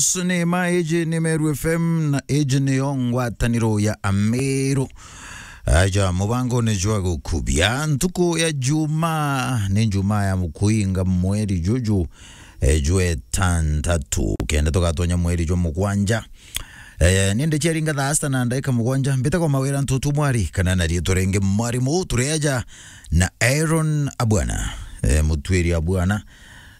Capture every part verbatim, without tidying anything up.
Yes, ni ma, iji ni Meru F M na iji niyo ngwataniro ya Ameru. Aja, mubango ni jwa gukubia ntuku ya Juma, ni Juma ya mukuinga mweri juju, eh, jwe tantatu. Kenda tugatonya mweri jwa mugwanja. Eh, ninde ciaringa thaa sita na ndaika mugwanja. Mbitagwa Mawira Ntutu Mwari, kana na riitwa ringi Mwarimu, turi aja na Aaron Abwana, eh, Mutwiri Abwana,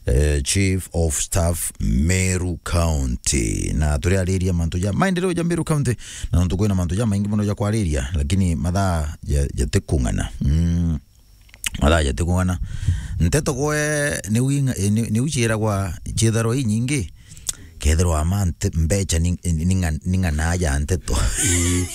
eh, Chief of Staff Meru County. Na turiariria mantu ja maendeleo ja Meru County, na nontu kwina mantu ja maingi mono ja kwariria, lakini mathaa ja-, jatikung'ana. Mm. Mathaa jatikung'ana. Nteto gwe ni winga-, eh, ni, ni uciiragwa ciitharwa inyingi. Kethirwa ma nte-, mbecha ni, ni, ni ng'a-, ni ng'ana ja nteto. Ii.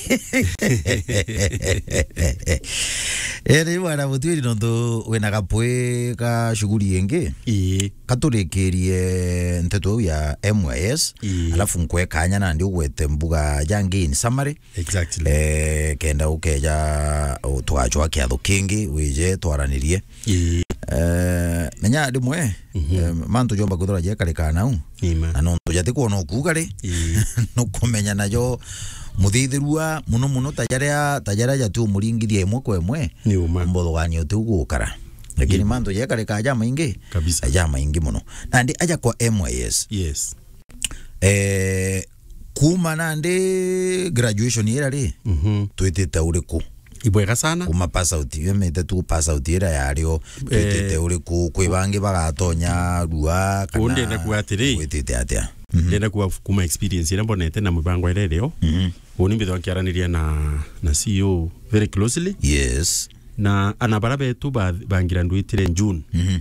Eri bwana Mutwiri, nontu wina gapwi ka shughuli ingi. Ii. Katurikirie nteto iu ya M Y S, ii, alafu nkwe kanya nandi ugwete mbuga jangi in summary. Exactly. Eh, kenda ukeja, u-, tugacwa kiatho kingi, wije twaranirie. Ii. Eh, menya rimwe, mhm, eh, mantu jomba kwithirwa jekarika nau. Ni ma. Na nontu jatikwona ukuuga ri, ii, nukumenya najo muthithirua muno muno ta jaria, ta jaria jatu umuringithia imwe kwa imwe. Ni uma. Mbothogania utiu gukara. Lakini, ii, mantu jekarika jamaingi, kabisa, jamaingi muno. Nandi aja kwa M Y S. Yes. Eh, kuma nandi graduation ira ri, mhm, twitite uriku? Ibwega sana. Kuma pass out, yemete tu pass out ira yario, eh, twitite uriku? Kwi bangi bagatonya rua, kana ndenda kuga atiri, witite atia? Mhm. Ndenda kuga kuma experience ira mbonete na mibango ira irio. Mhm. Uni mbithwa nkiaraniria na, na C E O very closely. Yes. Na ana bara betu ba, bangira ndwitire June. Mhm.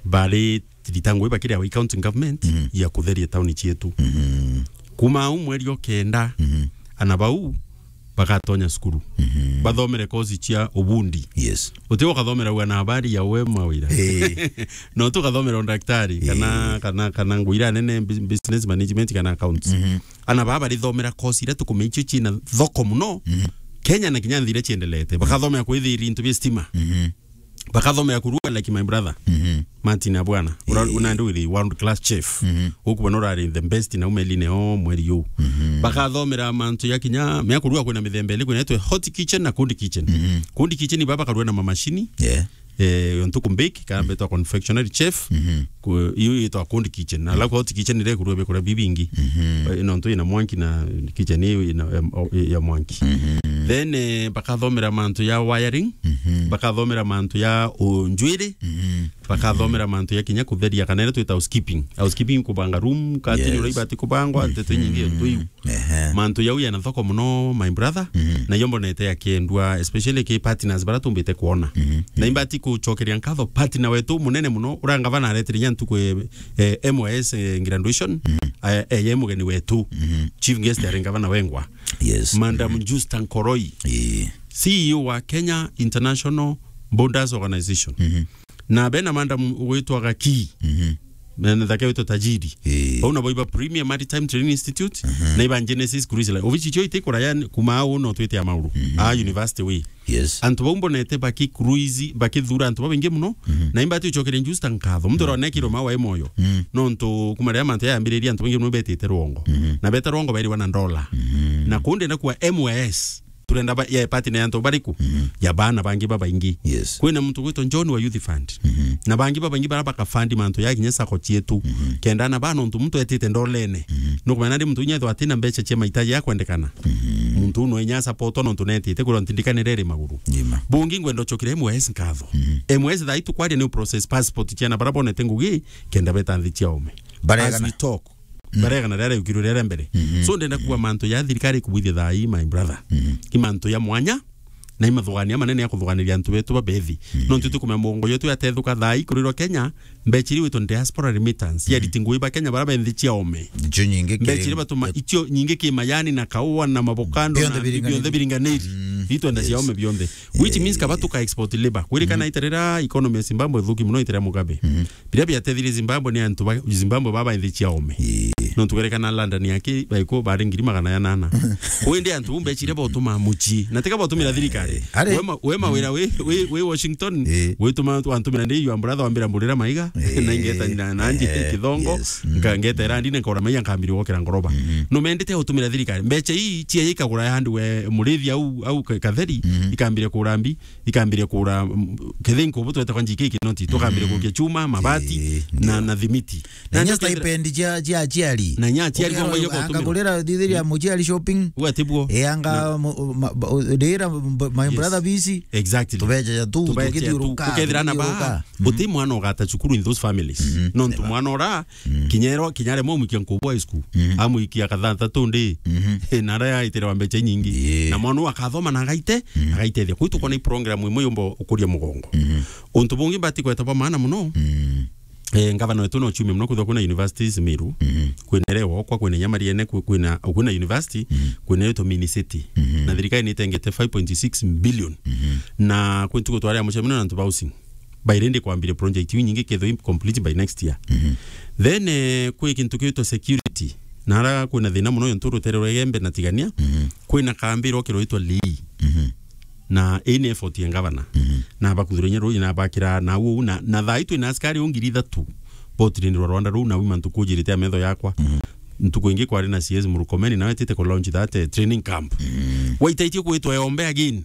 Bari thitango iba kiria wa county government, mhm, ya kutheria tauni cietu. Mhm. Kuma au mweri o kenda, mhm, ana bau bagatonya cukuru. Mhm. Bathomere kosi cia ubundi. Yes. Uti ukathomera ua na habari ya we Mawira. Eh. No tu ukathomera undaktari, kana, eh, kana, kana nguira nene, bus-, business management kana accounts. Mhm. Ana baba barithomera kosi iria tukumenya icio ciina thoko muno. Mhm. Kenya na kinya nthi iria ciendelete. Bakathomera kwithiria into bia stima. Mhm. Bakathomera kurua like my brother. Mhm. Martin Abwana. Ura-, eh, una ndu iri world class chef. Mhm. Ukuba no urari the best na umeline o mweri u. Mhm. Bakathomera mantu ya kinya, mea kurua kwina mithemba iri, kwina itwe hot kitchen na cold kitchen. Mhm. Cold kitchen baba karua na mamashini. Yeah. Eh, yo ntuku mbake, kana, mhm, betwa confectionery chef. Mhm. Ku-, iyo yitwa cold kitchen. Na alafu hot kitchen ire kurua bikura bibingi. Mhm. Eh, no ntu ina mwanki na kitchen iyo ina, em, o-, ya mwanki. Mhm. Then, eh, bakathomera mantu ya wiring, mhm, bakathomera mantu ya unjwiri, mhm, bakathomera mantu ya kinya kutheria, kana ire twita housekeeping. Housekeeping kubanga room, curtain, yes, ura ibati kubangwa, mhm, nteto inyingi, mhm, ntu iu. Ehe. Mantu yau yana thoko muno, my brother, mhm, na iyo mbonete yakiendwa, especially ki partners bara tumbite kuona. Mhm. Na imbati kucokeria nkatho partner wetu munene muno, ura ngavana aretere nya ntuku, eh, eh, M Y S, eh, graduation, mhm, eh, eh, ye mugeni wetu. Mhm. Chief guest ari ngavana wengwa. Yes. Madam, mhm, Justa Nkoroi. Ii. C E O wa Kenya International Borders Organization. Mhm. Na bena madam ugwitwa Gaki. Mhm. Mena thake witwa Tajiri. Ii. Bau nabo iba Premier Maritime Training Institute, mhm, na iba Genesis Cruise Line. Obici cio itikuraya kuma au no twite ya mauru. Mhm. A university way. Yes. Antu bau mbonete baki cruise, bakithura antu babaingi muno, mhm, na imbati ucokeria Justa nkatho. Muntu, mhm, uronekirwe ma wa moyo. Mhm. Nontu kuma riria mantu yayambiririe antu baingi muno betite rwongo. Mhm. Na beta rwongo bairiwa na ndola. Mhm. Na kundi na kwa M Y S. Turenda ba, ya partner ya antu bariku? Mhm. Ya bana bangi babaingi. Yes. Kwina muntu gwitwa John wa Youth Fund. Mhm. Na bangi babaingi bara bakafandi mantu ya kinya sacco cietu. Mhm. Kenda na bana untu muntu etite ndolene. Mhm. Nukumenya ndi muntu inya ethwa atina mbeca cia mahitaji ya kwendekana. Mhm. Muntu uno inya support no untu netite kwirwa ntindikanire iri maguru. Nima. Bungi ngwenda ucokire M Y S nkatho. Mhm. M Y S thaa itu kwaria ni process passport ciana bara bonete ngugi kenda beta nthi cia ome. Baregana. As we talk. Mm. Baregana riria riukirwe riria mbere. Mhm. So ndenda kuwa mantu ya thirikari kubwithia thaa ii, my brother. Mhm. I mantu ya mwanya, na i mathuganio manene ya kuthuganiria antu betu babethi. Mhm. No ntu tukumenya mongo yetu yatethuka thaa ii kurirwa Kenya, mbechiri witwa diaspora remittance. Mhm. Yariti ngui ba Kenya bara benthi cia ome. Icio nyingi ki-, mbechiri batuma icio nyingi ki mayani na kaua na mavocado bionthe na biringaniri. Bionthe biringaniri. Mm. Itwenda cia ome bionthe. Which means kaba tuka export labor. Kwirikana itarira economy ya Zimbabwe thuki muno itarira Mugabe. Mhm. Biria biatethirie Zimbabwe ni antu ba Zimbabwe baba nthi cia ome. Ii. Nontu kwerekana London yake baiko bari ngiri magana ya nana. Kwindi antu bumbe chire botuma muchii. Na tiga botumira thirikari. Ii. Are- Wema, wema wira wi, wi, wi Washington, ii, wituma antu antumira ndi your brother wambira mburira maiga. Eh, na ingeta na, na nji eh, kithongo, yes. Mm. Nka-, ngeta irandi na nkora maiya nkambiria gwokera ngoroba. Mm. No mendete gutumira thirikari. Mbeca ii cia ikagura ya handu we murithi au, au ka-, katheri, mm, ikambiria kura mbi, ikambiria kura, mm, kethe nkubu twete kwa njiki kinoti, tukambiria, mm, kukia chuma, mabati, eh, na, ndio, na thimiti. Na ndio nya kethira stipend cia, cia aciari. Na nya aciari. Ukero anga kugurira thithiria muciari shopping. Uga tibwo. E anga na mu-, ma-, ba-, u-, ndira mb-, my, yes, brother busy. Exactly. Tubeja tu, tubeja tu, tukithiuruka, ukethira na tukithiuruka. Ba, mm, uti mwana ugata cukuru in those families. Mm-hmm. Nontu neba. Mwana ora, mm, kinyero, kinyare mwa mwikia nkubu high school. Mm-hmm. Amwikia kathata tu ndi. Mm-hmm. Na ara yaitire wa mbeca nyingi. Yeah. Na mwana uu akathoma na agaite, mm, agaitethia. Kuu tukona i program imwe yumba ukuria mugongo. Mm-hmm. Untu bungi mbati kweta bwa maana muno. Mm. Eh, ngavana wetu no ciumia muno kwithwa kwina universities Meru. Mm-hmm. Kwina ere wokwa, kwina inya Mariene, kwi-, kwina, kwina university, mm-hmm, kwina yetu mini city. Mm-hmm. Na thirikari ni itengete five point six billion. Mm-hmm. Na kwi ntuku twari a mucemania na antu ba housing. By rindi kwambire project iu nyingi kethwa i complete by next year. Mm-hmm. Then, eh, kwi kintu kiitwa security. Na ara kwina thina muno yontu rutere rwa Igembe na Tigania, mm-hmm, kwina kambi irokirwa itwa Lii. Mm-hmm. Na ii ni effort ya ngavana. Mhm. Na bakuthura inya ruu, na bakira na uu, na, na thaa ii twina askari uu ngiri ithatu botirindirwa rwanda ruu, na uu mantu kujirite a metho yakwa. Mhm. Ntuku ingi kwari na C S Murkomen, nawe etite ku launch that, eh, training camp. Mhm. Waitaitie kwitwa Yombe again,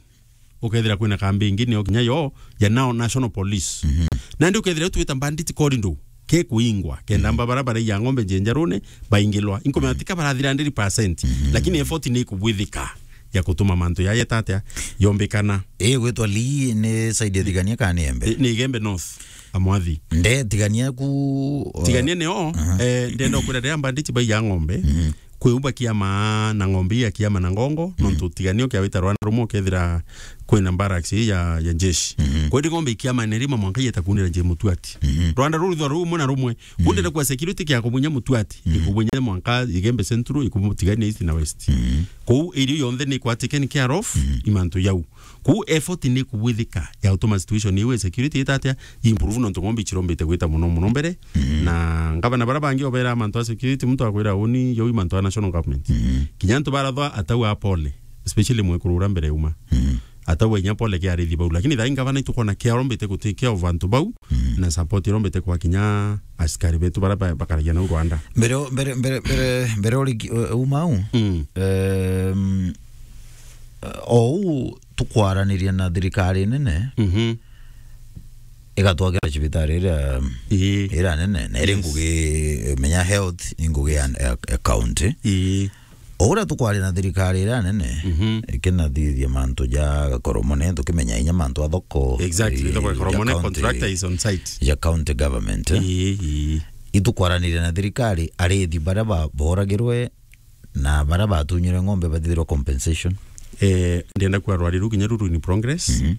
ukethira kwina kambi ingi, niyo kinya yo ya now National Police. Mhm. Nandi ukethira twita bandit corridor, ke kuingwa, kenda, mhm, mba bara baraiya ng'ombe njenjarune, baingilwa. Inkumenya, mhm, tika barathira hundred percent, mhm, lakini effort ni ikubwithika ya kutuma mantu yaya tatia yombikana. Ii gwitwa Lii ni side ya Tigania kana ni Igembe? Ni, ni Igembe North, amwathi. Nde Tigania ku, uh, Tigania nio, aha, eh, ndenda kwira riria bandit baiya ng'ombe, mhm, kwiumba kiama na ng'ombe ii ya kiama na ngongo, mhm, nontu Tigania ukiawita rwanda rumwe ukethira kwina barracks ii ya, ya jeshi. Mhm. Kwendi ng'ombe ikiama ni rima mwanka yeta kunira nje mutuati. Mhm. Rwanda ruru thwa rumwe na rumwe. Mhm. Kunde na kwa security kia kubunya mutuati. Mhm. Ikubunya mwanka Igembe Central, ikubunya Tigania East na West. Mhm. Kuu area yonthe ni kwa taken care of, mhm, imantu yau. Kuu effort ni kubwithika ya utuma situation iu ya security itatia improve nontu ng'ombe ichirombite gwita muno muno mbere. Mhm. Na ngavana bara bangi obera mantu a security, muntu akwira uni yo imantu a national government. Mhm. Kinya antu barathwa atau a pole, especially mwekuru ura mbere uma. Mhm. Atau a inya pole kia arithi bau. Lakini thaa ii ngavana itukona kia arombite gutake care of antu bau, mhm, na support irombite kwa kinya askari betu bara ba-, bakaragia nau Rwanda. Mbere o-, mbere, mbere, mbere, mbere ori ki-, u-, uma u, mm, em, o u tukwaraniria na thirikari nene, mhm, igatwakira cibitari iria, ii, iria nene, na iri, yes, ngugi, menya health ni ngugi ya, ya, ya county. Ii. O uria tukwaria na thirikari iria nene, mhm, ikinathithia mantu ja Gakoromone, tukimenya inya mantu a thoko, exactly, eh, thoko ya Gakoromone, county, contractor is on site, ya county government, eh. Ii, ii. Itukwaraniria na thirikari, arithi baria ba-, boragirwe na baria batunyirwe ng'ombe bathithirwa compensation. Eh, ndenda kwarwaria ruu kinya ruru in progress. Mhm.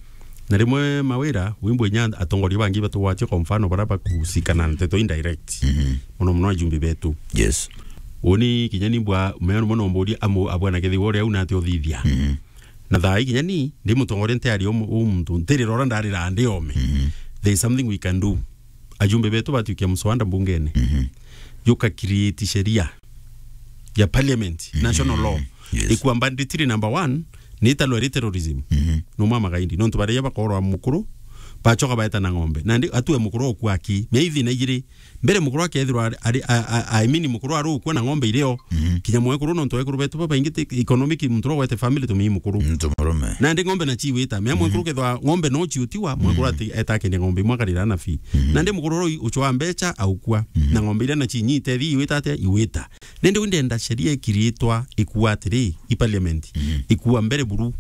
Na rimwe Mawira, wimbo inya atongoria bangi batugwatie, kwa mfano, bara bakusikana na nteto indirect. Mhm. Muno muno ajumbe betu. Yes. Uni kinya ni mbwa, mea muno mburia amu, abwana kethi wore au nate uthithia. Mhm. Na thaa ii kinya ni, ndi mutongoria ntiari u mu-, u muntu, ntirira uria ndarira ndi ome. Mhm. There is something we can do. Ajumbe betu batuikia mswada mbungene. Mhm. Yuka create sheria ya parliament, mhm, national law. Yes. Ikua banditry number one, ni italwa iri terrorism. Mhm. No mama gaindi. Nontu baria bakorwa mukuru, bachoka baeta na ng'ombe. Na ndi atue mukuru okua aki. Mea ithina igiri. Mbere mukuru akethirwa ari, ari, a, a, I mean mukuru arukua na ng'ombe irio. Mhm. Kinya mwekuru nontu ekuru betu babaingi ti economic muntu ro wete family to mi mukuru. Muntu murume. Na ndi ng'ombe na chiwita. Mea, mhm, mwekuru kethwa ng'ombe no chiutiwa, mwekuru, mhm, ati eta kende ng'ombe imwe akarira na fi. Mhm. Na ndi mukuru ro uchwa mbecha aukua. Mhm. Na ng'ombe iria na chinyite thi iwita atia iwita. Nende wi ndenda sheria ikiritwa ikua atiri, i parliament, mhm, ikua mbere buru.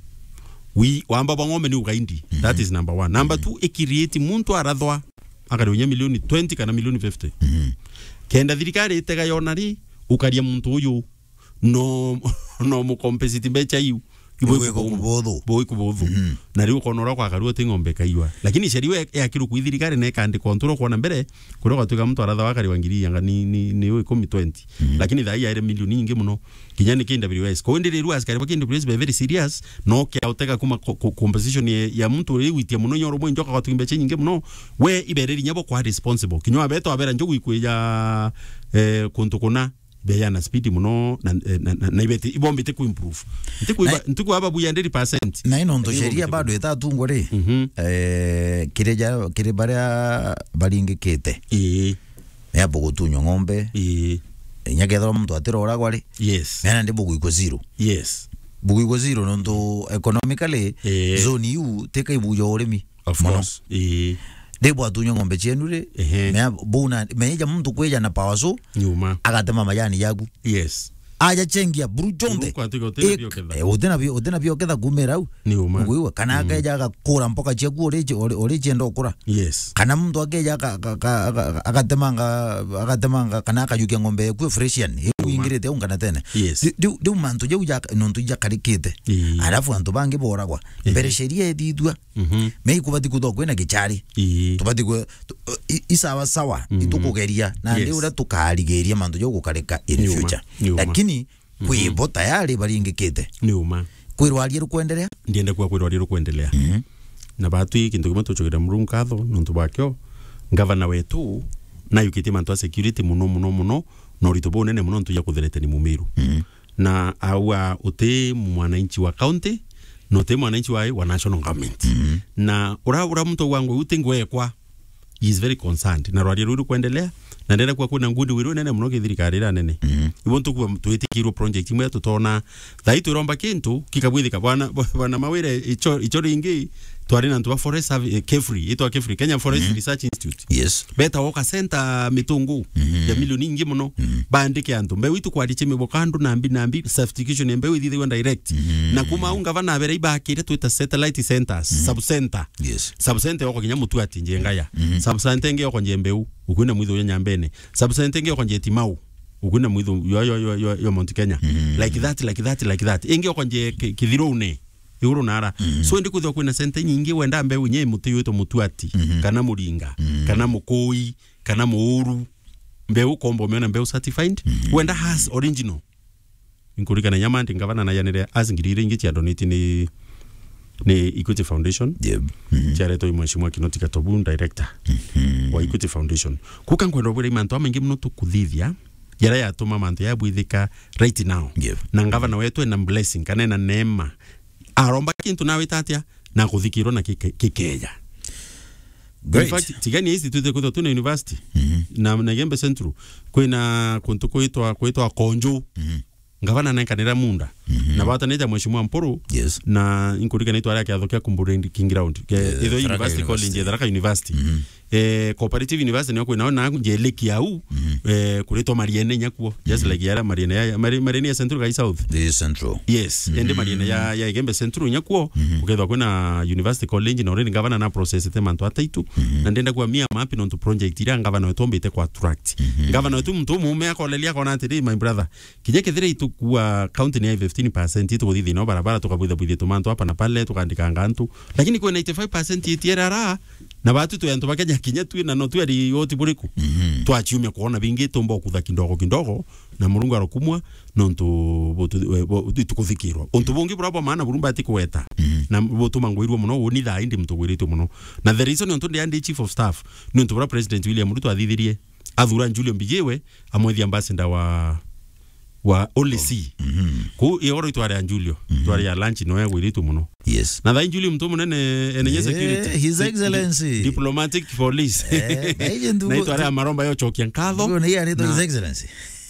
Wi, wamba bwa ng'ombe ni ugaindi. Mhm. That is number one. Number, mhm, two, ikirieti muntu arathwa, akari unya milioni twenty kana milioni fifty. Mhm. Kenda thirikari itega yona ri, ukaria muntu uyu, no, no mukompensiti mbecha iu. Ibo ikubuthu. Ibo ikubuthu. Mhm. Na riu ukona uria kwakarua ti ng'ombe kaiywa. Lakini sheria iu ya-, yakirwe kwi thirikari na ikandikwa ntu uria ukwona mbere, kuria gwatuika muntu arathawa akariwa ngiri anga ni, ni, ni ikumi, twenty. Mhm. Lakini thaa ii yaire milioni nyingi muno. Kinya ni K W S. Kwou ndi riu askari ba K W S be very serious, no kia utega kuma ko-, ko-, composition ya, ya muntu uria igwitia muno, inya urumwe njoka gwatuika mbecha nyingi muno, we ibereri inya bo kwa responsible. Kinya wabeta wabera njogu ikwija, eh, kuntu kuna. beya na speed muno na, na, na, na ibete, ibombite ku improve. Ntiku Na iba, ntiku aba buya hundred percent. Na ino nto Lakini sheria ibombite bado ku itatungwa ri, Mhm. eh, kiri ja, kiri baria baringikite. Ii. Ni abo gutunywa ng'ombe. Ii. Inya kethirwa muntu atiroragwa ri. Yes. Mena ndi buguikwa zero. Yes. Buguikwa zero nontu economically Ii. zone iu tika ibuja urimi. Of Mono. course. Ii. Ndi bwatunywa ng'ombe cienu ri. Ehe. Mea buna, meja muntu kwija na power saw, Nyuma. agatema majani yaku. Yes. Aja chengia buru jonthe. Buru kwatuika utina Ik-, bioketha. eh, utina bio-, utina bioketha kumira au. Ni uma. Ngwigua, kana Mm. akeja agakura mboka ciaku uri ci-, uri, uri cienda ukura. Yes. Kana muntu akeja aka-, aka-, aka-, aka-, agatemanga, agatemanga, kana akajukia ng'ombe yaku Fresian, Ni uma. iingirite au ngana tene. Yes. Ri-, riu, riu mantu jau ja, nontu ijakarikite. Ii. Alafu antu bangi boragwa. Ii. Mbere sheria ithithua, Mhm. me ikubati kuthwa kwina gichari. Ii. Tubati kwe-, tu-, i-, i sawa sawa, Mhm. itukugeria. Na ndi Yes. uria tukarigiria mantu jau gukarika in Ni uma. future. Ni uma. Lakini, Mhm. kwi bo tayari baringikite. Ni uma. Kwirwa aria rukwendelea? Ndienda kuga kwirwa aria rukwendelea. Mhm. Na batwi kintu kimwe tucokeria Murungu nkatho nontu bwakio. Ngavana wetu nayukitie mantu a security muno, muno, muno, na urito bunene muno nontu ya kutherete ni Mumiru. Mhm. Na aua uti mwananchi wa county, na uti mwananchi wa, wa national government. Mhm. Na ura, ura muntu aua ngwe uti ngwekwa, he is very concerned. Na rwaria ruru kwendelea, na ndenda kuwa kwina good will nene muno ki thirikari ira nene. Mhm. Ibo ntukuwa twitikirwo project imwe tutona, thai twiromba kintu, kikabwithika. Bwana, bwana Mawire, icho, icho ringi, twari na ntu ba forest servi-, eh, KEFRI, itwa KEFRI, Kenya Forest Mhm. Research Institute. Yes. Beta woka center mitungu Mhm. ya milioni ingi muno. Mhm. Bandike antu. Mbeu itu kwariche miboka andu nambi nambi, certification ya mbeu ithithagwa direct. Mhm. Na kuma au ngavana abere ibakire twita satellite centers, Mhm. sub center. Yes. Sub center yoko kinya Mutuati njenga ya. Mhm. Sub center ingi yoko nje mbeu, ukwina mwitho ya Nyambene. Sub center ingi yoko nje Timau, ukwina mwitho yo, yo, yo, yo, yo Mount Kenya. Mhm. Like that, like that, like that. Ingi yoko nje ki-, Kithirune. Iguru nara. Mhm. So, ndi kwithirwa kwina center nyingi wenda mbeu nye muti yitwa Mutuati, Mhm. kana Muringa, Mhm. kana Mukui, kana Muuru. Mbeu kombo umeona mbeu certified. Mhm. Wenda has original. Nkurikana nyama ndi ngavana na yanire as ngiri iri ingi cia donate ni, ni Equity Foundation. Yep. Mhm. Ciaretwo i Mheshimiwa Kinoti Gatobu, director Mhm. wa Equity Foundation. Kuka nkwenda ubwira mantu amaingi muno tukuthithia, yara yatuma mantu yabwithika right now. Yep. Na ngavana wetu ena blessing, kana ena neema. Aromba kintu nawe tatia, na kuthikirwa na kike-, kikeja. In Great. fact, Tigania East twite kwithwa twina university. Mhm. Na, na Igembe Central, kwina kuntu kwitwa, kwitwa Konju. Mhm. Ngavana nenkanira munda. Mhm. Na batanite Mheshimiwa Mpuru. Yes. Na inkurikana itwa aria kiatho kia Kumburendi King Ground. Ke-, Eh, itho Tharaka University College, University. Tharaka University. Mhm. Eh, Cooperative University nio kwina na njeleki au, Mhm. eh, kuritwa Mariene nyakuo. Just Mhm. like yara Mariene ya, Mari-, Mariene ya Central kai South. The Central. Yes, Mhm. ende Mariene ya, ya Igembe Central nyakuo, Mhm. ukethwa kwina University College na already ngavana na process te mantu ataitu. Mhm. Na ndenda kuwa mia mapi nontu project iria ngavana wetu ombite kwa attract. Mhm. Ngavana wetu muntu umume akolelia akona atiri, "My brother, kinya kethira itukua county ni ya fifteen percent, itukuthithia no barabara, tukabwitha bwithia tumantu hapa na pale, tukandikanga antu. Lakini kwina eighty-five percent itiera ra, na batu twi antu ba Kenya kinya twi na no twi ari oti buriku." Mhm. Twachiumia kuona bingi, tumba kutha kidogo kidogo, na Murungu arokumwa, nontu butu-, we-, bu-, itukuthikirwa. Untu bungi bura bwa maana buru mbati kuweta, Mhm. na butuma ngwirua muno, uni thaa indi muntu gwiritwe muno. Na the reason nontu ndi andi chief of staff, ni untu bura President William Ruto athithirie, athura Julio Mbijiwe, amwethia ambassador wa, wa Holy See. Mhm. Ku igoro itware ya Julio, Mhm. tware ya lunch no ya gwiritwe muno. Yes. Na thai Julio muntu munene, enenye Eh, security. His Di-, di-, Excellency. Diplomatic police. Eh, na ije ndugu- Na itware ya maromba yo chokia nkatho. Ndugu, na iye anaitwa Na His Excellency.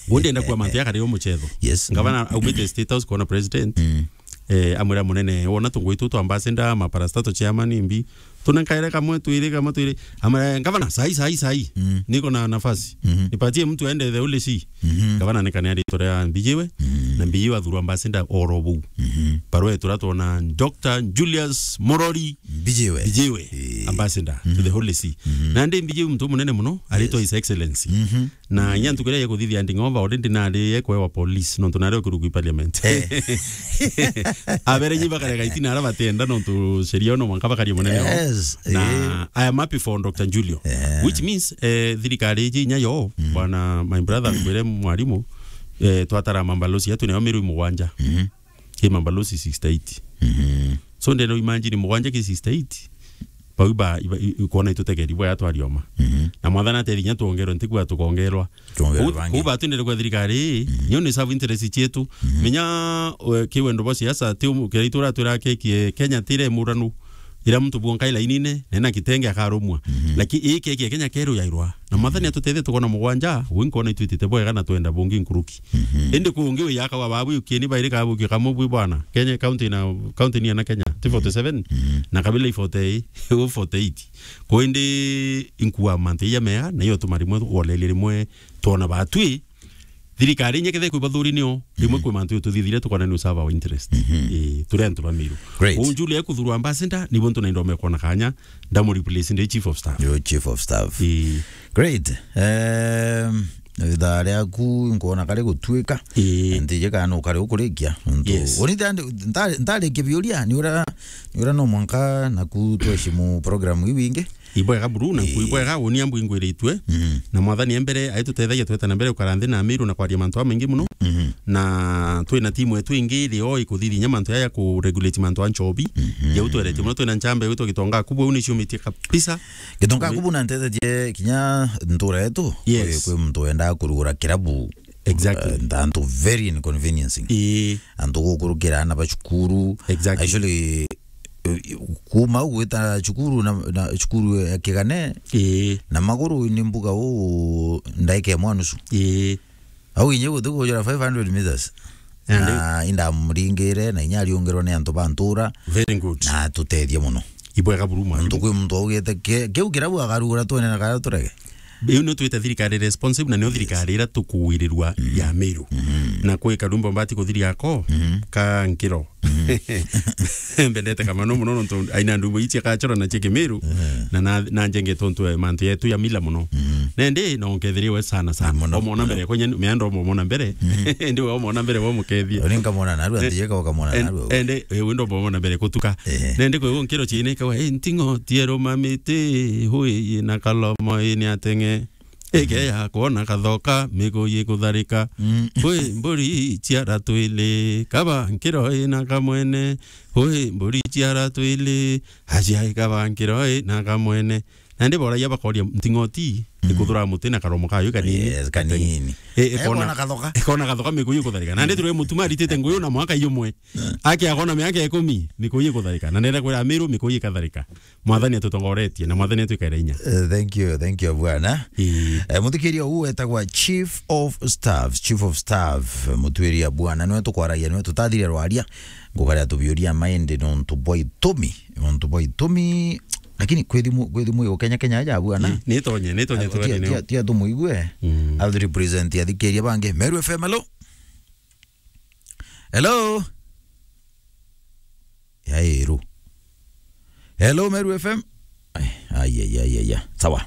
Gundi enda kuwa mantu ya kare yo muchetho. Yes. Ngavana aumite State House kuona president. Mm. Eh, amwira munene, wona tungwitu twa ambassador, maparastato chairman, mbi. Tuna nkaire kamwe twiri, kamwe twiri. Amwira, "Ngavana, sai, sai, sai. Mm. Niko na nafasi. Mhm. Nipatie mtu aende the Holy See." Mhm. Ngavana nikane ari tore ya Mbijiwe. Mhm. Na Mbijiwe athurwa ambassador oro buu. Mhm. Barua etura twona Doctor Julius Murori Mbijiwe. Mbijiwe, Eh. ambassador to Mhm. the Holy See. Mhm. Na ndi Mbijiwe muntu munene muno, aritwa Yes. His Excellency. Mhm. Na inya ntuku iria ikuthithia nding'ova, already nari ekwewa police, nontu nari okirugu i parliament. Eh. Abere nyi bakarega itina ara batenda, nontu sheria no mwanka bakaria munene wao. Yes, Na eh. I am happy for Doctor Julio. Eh. Which means, eh, thirikari iji inya yo, Mm. bwana, my brother, ngwire mwarimu, eh, twatara mambalosi yetu nayo Meru mugwanja. Mhm. Ki mambalosi sixty-eight. Mhm. So ndeno imagine mugwanja ki sixty-eight. bau ba, iba, i, i, kwona itutegeri bwa yatwarioma. Mhm. Na mwathani atethia inya tuongerwe, ntikwigua tukongerwa. Tuongerwe bangi. Kuu batwendere kwa thirikari, mhm, nio ni serve interest cietu. Mhm. Menya, we, kiwendo bwa siasa, ti umu-, kira itu ratwira kekie Kenya tire muranu. Ira muntu bwonka ilainine, na ena kitenge akarumwa. Mhm. Lakini ii kekie Kenya keru yairwa. Na mwathani atutethie tukona mugwanja, wi nkona itwitite bwega na twenda bungi nkuruki. Mhm. Indi kungi wi yaka wa babu ukieni bairi kabu ki kamwe bwi bwana. Kenya county na, county ni ana Kenya, ti forty seven, mhm, na kabila i forty, u forty eight. Ko indi inkua mantu iya mea, na iyo tuma rimwe, wona rimwe, twona batwi, thirikari inya kethe kwi bathuri nio, rimwe, mhm, kwi mantu tuthithire tukona ni serve our interest. Mhm. Eh, turi antu ba Meru. Great. Unjuli ekuthurwa ambassador, nibo ntu na indome kona kanya, ndamu replace ndi chief of staff. Yo, chief of staff. Eh. Great. Um, ithaa riaku nkuona kari gutuika. Ii. Ntije kana ukari ukurikia. Ntu, yes, uri nta-, nta-, ntarikia biuria, ni ura, ni ura no mwanka naku tweshimu program iu ingi. Ibwega buru, na, ii, ibwega, uni ambu ingwiritue. Mhm. Na mwathani e mbere, aitutethagia tweta na mbere ukara nthi na Amiru na kwaria mantu amaingi muno. Mhm. Na twina timu yetu ingi iri o ikuthithinya mantu yaya ku regulate mantu a nchobi. Mhm. Jau tweretie muno, twina nchamba igwitwa Gitonga Kubu, au ni ciumitie kabisa. Gitonga Kubu na ntethetie kinya ntura yetu. Yes. Kwi, kwi muntu wendaa kurugura kirabu. Exactly. Eh, ntantu very inconveniencing. Ii. Antu gukurukira ana ba cukuru. Exactly. Actually, eh, kuma ugwita cukuru na, na cukuru ya Kigane. Ii. Na maguru ni mbuga u ndaika imwe nusu. Ii. Au inye guthi kujura five hundred meters. Andi. Na indamuringire, na inya ariungirwa ni antu ba ntura. Very good. Na atutethie muno. Ibwega buru mwathani. Ntu kwi muntu augite, ke-, kiu kirabu akarugura twene na kara turege. Iu nio twite thirikari responsive, na nio, yes, thirikari ira tukuwirirua, mm, ya Meru. Mm. Na kwi karumbo mbati kuthiria ako, mm, ka nkiro. Mm. Mbendete kamano muno nontu aina ndumbo ici akachora na cie Kimiru, mm, na, na, na njenge tontu e mantu yetu ya mila muno. Mm. Nende no nkethiriwe sana sana. Muno, omona muno mbere, kwenye meandro omona mbere. Mm. Ndi we omona mbere wa mukethia. Uri nkamona narua, eh, ntije ka ukamona en-, narua. Ende, eh, wendo omona mbere kutuka. Eh. Nende kwe nkiro chine kawa, eh, ntingo tierumamite, hui na kalomo ini atenge. Ikeya kwona kathoka, miguyi kutharika. Mm. Kwi mburi ciara twili, kaba nkiro ina kamwene. Kwi mburi ciara twili, aciai kaba nkiro ina kamwene. Nandi boragia bakoria nting'oti, mm, ikuthura muti na karomo kayo kanini. Yes, kanini. E, ikona, ikona kathoka. Ikona kathoka miguyi kutharika. Nandi turi mutuma aritite nguyu na mwaka iyo mwe. Mm. Aki akona miaka ikumi, miguyi kutharika. Na nenda kwira Amiru, miguyi ikatharika. Mwathani atutongoretie na Mwathani atwikere inya. Eh, thank you, thank you, bwana. Ii. Eh, muthikiria huu etagwa Chief of Staff, Chief of Staff, mutwiria bwana, niwe tukwaragia, niwe tutathire rwaria, ngukaria tubiuria maende nontu bwa itumi, nontu bwa itumi, lakini kwi thimu, kwi thimu yo Kenya, Kenya aja bwana. Ii, nitonye, nitonye. Ah, tia, tia, tia tumuigue. Mm. I'll represent athikiria bangi. Meru F M, hello? Hello? Yairu. Hello, Meru F M? Ai, ai, ai, ai, ai. Sawa.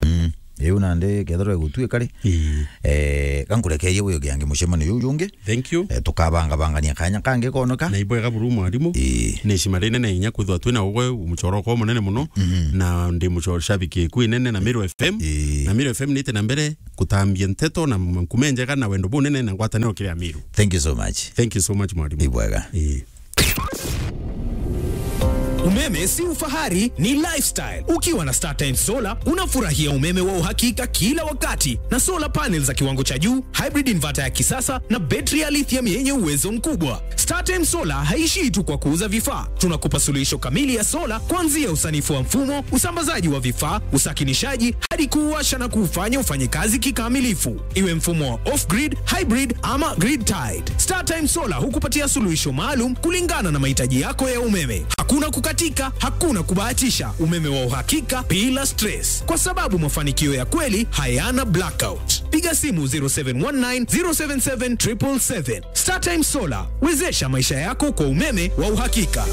Mm. Riu nandi kethirwa igutwika ri? Ii. Eh, kankurekerie wiugiange mucemanio juu jungi. Thank you. Eh, tukabangabangania kanya kangi koneka. Na ibwega buru mwarimu. Ii. Ni cima rinene inya kwithwa twina ugwe muchoroko munene muno. Mhm. Na ndi mucho-, shabiki ku inene na Meru F M. Ii. Na Meru F M nite na mbere kutambia nteto na nkuma injega na wendo bunene na ngwataniro kiri Amiru. Thank you so much. Thank you so much, mwalimu. Ibwega. Ii. Umeme si ufahari, ni lifestyle. Ukiwa na StarTimes Solar, unafurahia umeme wa uhakika kila wakati na solar panels za kiwango cha juu, hybrid inverter ya kisasa na betri ya lithium yenye uwezo mkubwa. StarTimes Solar haishii tu kwa kuuza vifaa. Tunakupa suluhisho kamili ya sola, kuanzia usanifu wa mfumo, usambazaji wa vifaa, usakinishaji, hadi kuuwasha na kuufanya ufanye kazi kikamilifu, iwe mfumo wa off-grid, hybrid ama grid-tied. StarTime Solar hukupatia suluhisho maalum kulingana na mahitaji yako ya umeme. Hakuna kukatika, hakuna kubahatisha, umeme wa uhakika bila stress, kwa sababu mafanikio ya kweli hayana blackout. Piga simu zero seven one nine, zero seven seven, triple seven. StarTime Solar, wezesha maisha yako kwa umeme wa uhakika.